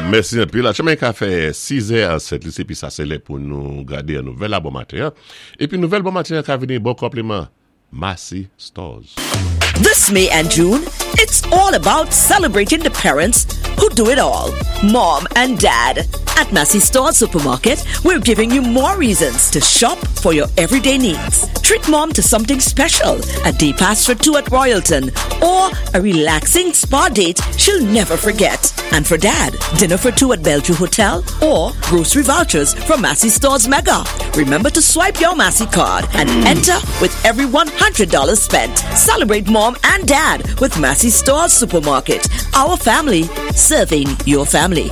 Mèsi anpil. Aktyèlman li ka fè 6 è an Sent Lisi epi sa se lè pou nou gade an nouvèl la bon maten an. Epi nouvèl bon maten an ka vini bon konpliman Massy Stores. This May and June, it's all about celebrating the parents who do it all mom and dad. At Massy Stores Supermarket, we're giving you more reasons to shop for your everyday needs. Treat mom to something special a day pass for two at Royalton or a relaxing spa date she'll never forget. And for dad, dinner for two at Bellevue Hotel or grocery vouchers from Massy Stores Mega. Remember to swipe your Massy card and enter with every $100 spent. Celebrate mom and dad with Massy Stores Supermarket. Our family serving your family.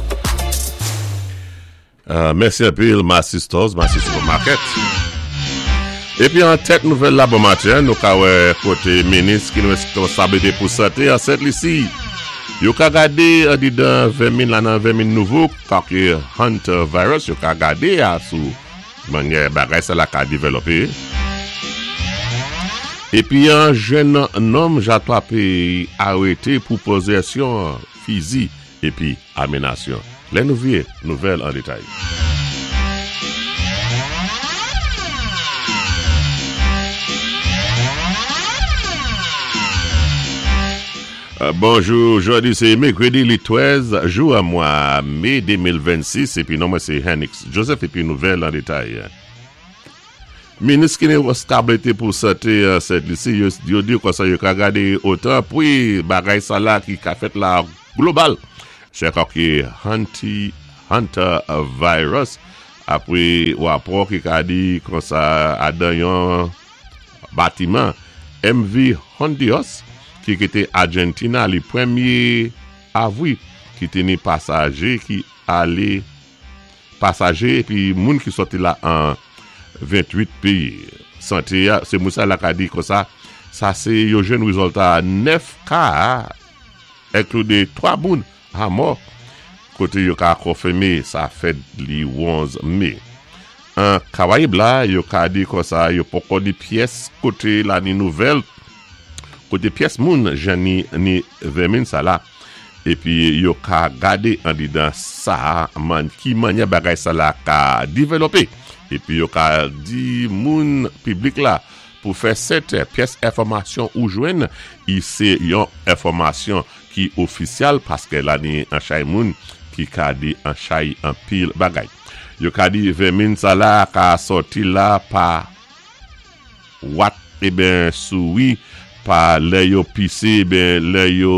Mèsi anpil Massy Stores, Massy Supermarket. Epi an tèt nouvèl la bon maten, nou ka wè kote minis ki gen responsablite pou sante an Sent Lisi. Yo ka gade andidan vèmin la nan vèmin nouvo kake Hunter Virus yo ka gade a sou manyè bagay sa la ka devèlope. Epi an jenn nonm jatwa peyi arete pou pozesyon fizi epi aminasyon. Lè nou vye nouvèl an detay. Bonjou, jodi se mekredi li 13 jou an mwa me 2026 epi non mwen se Henix Joseph epi nouvèl an detay. Minis ki gen responsablite pou sante an Sent Lisi yo di konsa yo ka gade otan pwi bagay sa la ki ka fèt la global se kòk hanti hanta virus apre rapò ki ka di konsa adan yon batiman MV Hondios ki kite Argentina li premye avwi ki te ni pasaje ki ale pasaje epi moun ki sòti la an 28 peyi. Sante a, se moun sa la ka di konsa, sa se yo jwenn rezòlta 9 ka enklude 3 moun a mò kote yo ka konfime sa fèt li 11 me. An Karayib la, yo ka di konsa yo poko ni pyès kote la ni nouvèl kote pyès moun jan ni ni vèmin sa la. Epi yo ka gade andedan sa man ki manyè bagay sa la ka develope. Epi yo ka di moun piblik la pou fè sèten pyès enfòmasyon ou jwenn i se yon enfòmasyon ki ofisyal paske la ni an chay moun ki ka di an chay anpil bagay. Yo ka di vèmin sa la ka sòti la pa Wat eben souri pa lè yo pise eben lè yo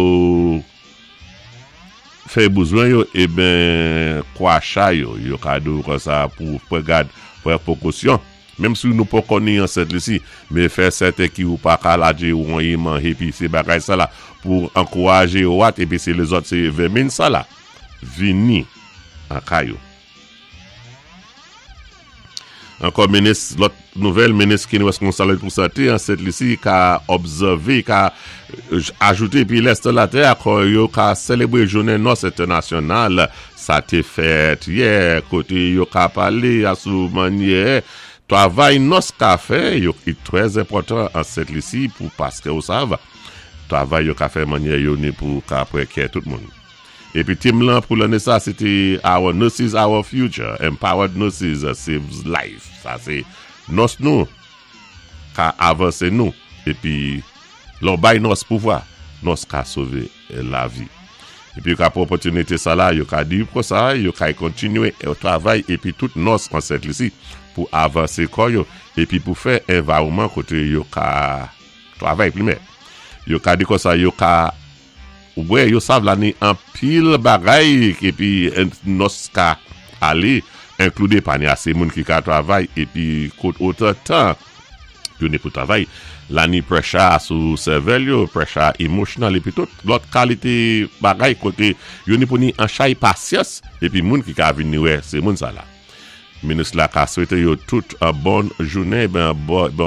fè bouzwen yo eben kwacha yo yo ka di w konsa pou pran gad pran pwokosyon menm si nou poko ni ansent li si men fè sèten ki ou pa ka ladje won e manje pise bagay sa la pou ankouraje wat epi se lezòt se vèmin sa la vini an kay ou. Ankò minis lòt nouvèl minis ki reskonsab pou sante an Sent Lisi ka obsève ka ajoute epi lès nan latè akò yo ka selebre jounen nòs entènasyonal sa te fèt yè kote yo ka pale a sou manyè travay nòs ka fè yo ki trè enpòtan an Sent Lisi pou paske ou sav travay yo ka fè manyè yo ni pou ka prè kè tout moun. Epi tem lan pou lane sa se te Our Nurses Our Future, Empowered Nurses Saves Life. Sa se nòs nou ka avanse nou. Epi lè w bay nòs pouvwa, nòs ka sove lavi. Epi yo ka pran opòtinite sa la, yo ka di konsa, yo kay kontinye travay epi tout nòs an Sent Lisi pou avanse kò yo epi pou fè envawonman kote yo ka travay plimè. Yo ka di konsa yo ka Ou wè yo sav la ni anpil bagay epi nòs ka ale enklude pa ni ase moun ki ka travay epi kot otan tan yo ni pou travay la ni pressure sou sèvèl yo pressure emotional epi tout lòt kalite bagay kote yo ni pou ni anchay pasyans epi moun ki ka vin ni wè se moun sa la. Minis la ka swete yo tout bòn jounen ebyen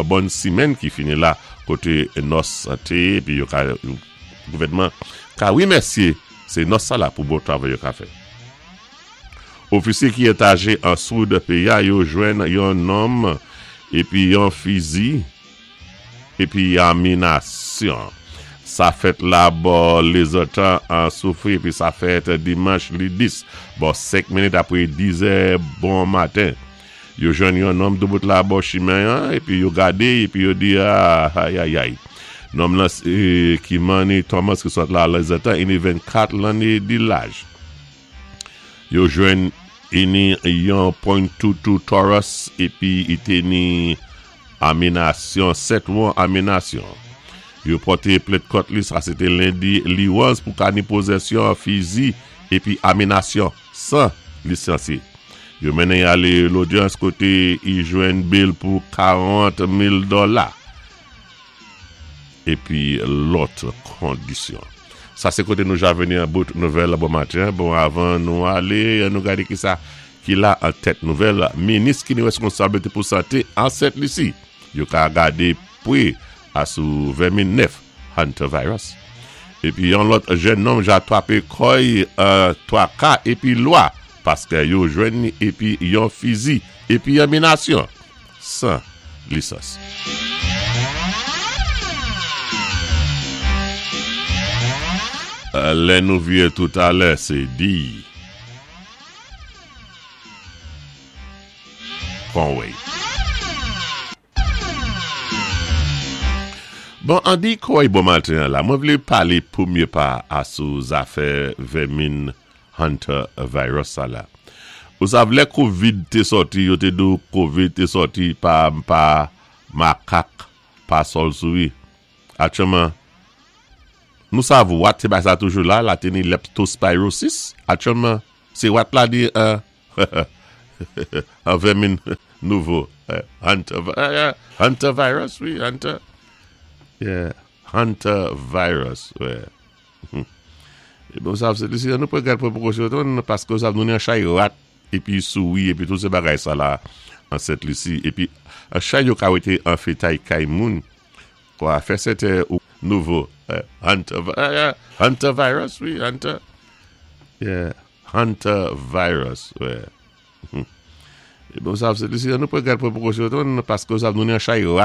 bòn simèn ki fini la kote nòs te epi yo ka gouvènman ka remèsye se nòs sa la pou bon travay yo ka fè. Ofisye ki etaje an soud peyi a yo jwenn yon nonm epi yon fizi epi aminasyon. Sa fèt la bò Lezantan an Soufri epi sa fèt dimanch li 10 bò 5 minit apwé 10 zè bon maten. Yo jwenn yon nonm doubout la bò chimen an epi yo gadé epi yo di ayayay. Nonm lan sé Kimani Thomas ki sòt la Lezantan ini 24 lanné di laj. Yo jwenn ini yon point two two Taurus epi i té ni Aminasyon, 7 won aminasyon. Yo pòte plent kont li, sa se te lendi li 11 pou ka ni pozesyon fizi epi aminasyon san lisansye. Yo mennen y ale lodyans kote i jwenn bel pou 40 mil dòla epi lòt kondisyon. Sa se kote nou ja vini an bout nouvèl bon maten. Bon avan nou ale, an nou gade kisa ki la an tèt nouvèl minis ki ni reskonsablite pou sante an Sent Lisi yo ka gade pre a sou vèmin 9 hantavirus. Epi yon lòt jèn nonm ja twape kòy an twaka epi lwa paskè yo jwenn ni epi yon fizi epi yon minasyon 100 lisans. Lè nou vye toutalè se di. Conway. Bon Andy Coy bon maten an la mwen vle pale premye pa a sou zafè vèmin Hunter virus sa la. Ou sav lè covid te sòti yo te di w covid te sòti pa pa makak pa sòl souri. Aktyèlman nou sav wat se bagay sa toujou la la te ni leptospirosis aktyèlman se wat la di an an vèmin nouvo hunter hunter virus wi hunter yeah hunter virus wè e bon sa se li nou pran gad pran prekosyon paske ou sav nou ni an chay rat epi souri epi tout se bagay sa la an Sent Lisi epi an chay yo ka wete an fetay kay moun kwa fè sèten ou nouvo hunter hunter virus wi hunter yeah hunter virus wè e bon sa se li nou pran gad pran prekosyon paske ou sav nou ni an chay rat.